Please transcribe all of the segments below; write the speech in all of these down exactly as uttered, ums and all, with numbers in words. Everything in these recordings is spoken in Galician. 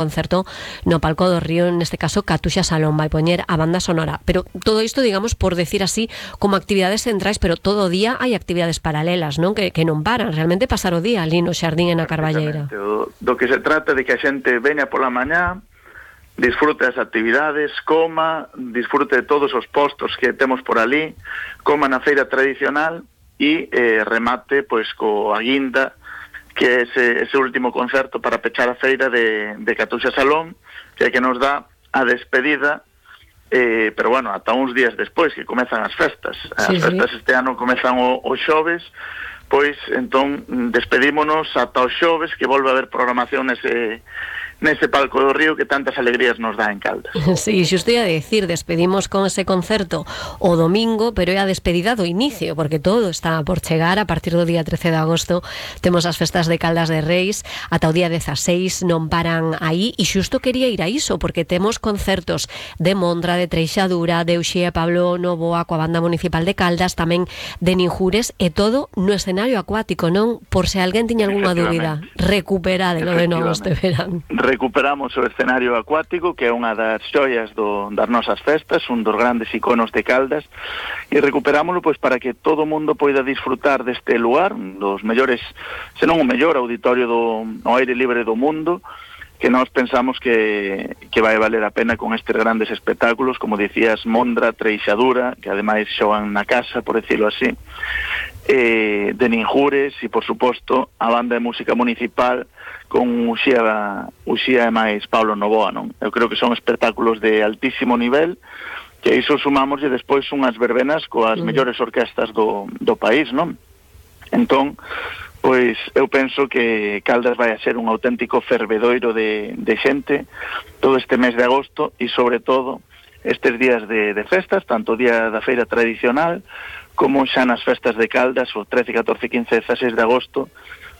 concerto no Palco do Río, neste caso Catuxa Salón vai poñer a banda sonora, pero todo isto, digamos, por decir así, como actividades centrais, pero todo o día hai actividades paralelas, non? Que, que non paran, realmente pasar o día ali no xardín e na Carballeira. Do, do que se trata de que a xente veña pola mañá, disfrute das actividades, coma, disfrute de todos os postos que temos por ali, coma na feira tradicional e eh, remate pois co a guinda, que é ese, ese último concerto para pechar a feira de, de Catuxa Salón, que é que nos dá a despedida, eh, pero bueno, ata uns días despois que comezan as festas. As sí, festas sí. Este ano comezan o, o xoves, pois entón despedímonos ata o xoves, que volve a haber programación nese nese Palco do Río que tantas alegrías nos dá en Caldas. Sí, xusto ia decir, despedimos con ese concerto o domingo, pero é a despedida do inicio, porque todo está por chegar. A partir do día trece de agosto temos as festas de Caldas de Reis, ata o día dezaseis non paran aí, e xusto quería ir a iso, porque temos concertos de Mondra, de Treixadura, de Uxía e Pablo Novoa coa banda municipal de Caldas, tamén de Ninjures, e todo no escenario acuático, non? Por se alguén tiña algunha dúbida, recuperádelo de novo este verán. Recuperamos o escenario acuático, que é unha das xoias do, das nosas festas, un dos grandes iconos de Caldas, e recuperámoslo pois para que todo o mundo poida disfrutar deste lugar, dos mellores, senón o mellor auditorio do no aire libre do mundo, que nós pensamos que, que vai valer a pena con estes grandes espectáculos, como dicías, Mondra, Treixadura, que ademais xogan na casa, por decirlo así, eh, de Ninjures, e por suposto a banda de música municipal con Uxía, Uxía e máis Pablo Novoa, non? Eu creo que son espectáculos de altísimo nivel, que iso sumamos e despois unhas verbenas coas mm. mellores orquestas do, do país, non? Entón, pois eu penso que Caldas vai a ser un auténtico fervedoiro de, de xente todo este mes de agosto, e sobre todo estes días de, de festas, tanto o día da feira tradicional como xa nas festas de Caldas, o trece, catorce, quince, dezaseis de agosto,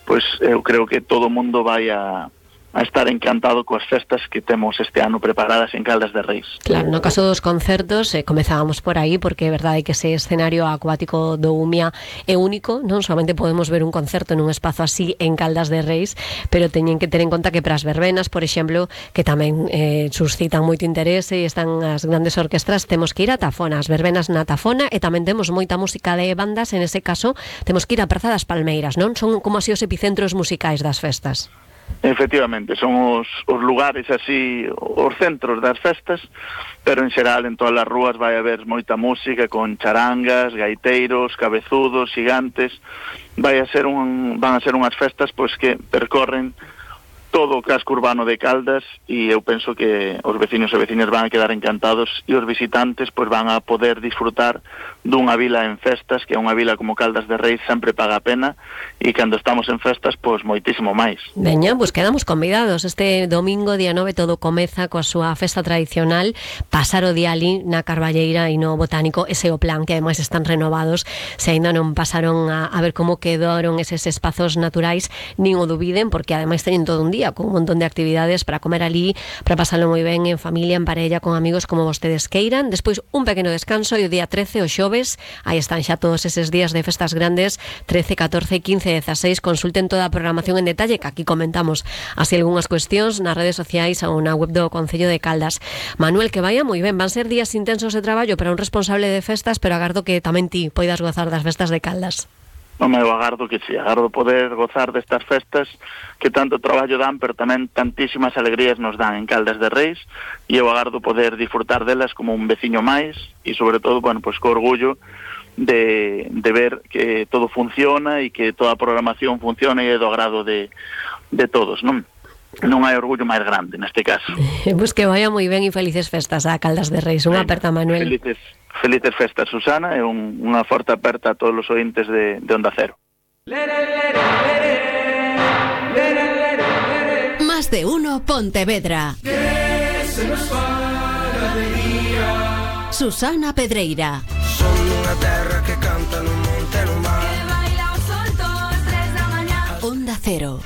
pois eu creo que todo o mundo vai a, a estar encantado coas festas que temos este ano preparadas en Caldas de Reis. Claro, no caso dos concertos, eh, comezábamos por aí, porque é verdade que ese escenario acuático do Umia é único, non solamente podemos ver un concerto nun espazo así en Caldas de Reis, pero teñen que ter en conta que para as verbenas, por exemplo, que tamén eh, suscitan moito interese e están as grandes orquestras, temos que ir a Tafona, as verbenas na Tafona, e tamén temos moita música de bandas, en ese caso temos que ir a Praza das Palmeiras, non? Son como así os epicentros musicais das festas. Efectivamente, son os, os lugares así, os centros das festas, pero en xeral en todas as rúas vai haber moita música con charangas, gaiteiros, cabezudos, gigantes. Vai a ser un, van a ser unhas festas pois que percorren todo o casco urbano de Caldas, e eu penso que os veciños e veciñas van a quedar encantados, e os visitantes pois van a poder disfrutar dunha vila en festas, que é unha vila como Caldas de Reis sempre paga a pena, e cando estamos en festas pois moitísimo máis. Veña, pois quedamos convidados. Este domingo, día nove, todo comeza coa súa festa tradicional, pasar o día ali na Carballeira e no Botánico, ese é o plan, que ademais están renovados. Se ainda non pasaron a, a ver como quedaron eses espazos naturais, nin o dubiden, porque ademais teñen todo un día con un montón de actividades para comer ali, para pasarlo moi ben en familia, en parella, con amigos, como vostedes queiran. Despois un pequeno descanso, e o día trece, o xoves, aí están xa todos eses días de festas grandes, trece, catorce, quince, dezaseis. Consulten toda a programación en detalle, que aquí comentamos así algunhas cuestións nas redes sociais ou na web do Concello de Caldas. Manuel, que vaya moi ben, van ser días intensos de traballo para un responsable de festas, pero agardo que tamén ti poidas gozar das festas de Caldas. Non me agardo que sí, agardo poder gozar destas festas que tanto traballo dan, pero tamén tantísimas alegrías nos dan en Caldas de Reis, e eu agardo poder disfrutar delas como un veciño máis, e sobre todo, bueno, pois co orgullo de, de ver que todo funciona e que toda a programación funciona e é do agrado de, de todos, non? Non hai orgullo máis grande neste caso. Pois que vaya moi ben e felices festas a Caldas de Reis. Unha aperta, Manuel. Felices Felices festas, Susana, e un, unha forte aperta a todos os ointes de, de Onda Cero. Más de uno Pontevedra. Susana Pedreira. Son unha terra que canta no monte no mar, que baila o sol todas tres da mañá. Onda Cero.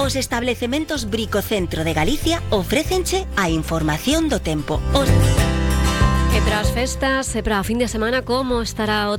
Os establecementos Bricocentro de Galicia ofrécenche a información do tempo. Os... E para as festas, e para o fin de semana, como estará o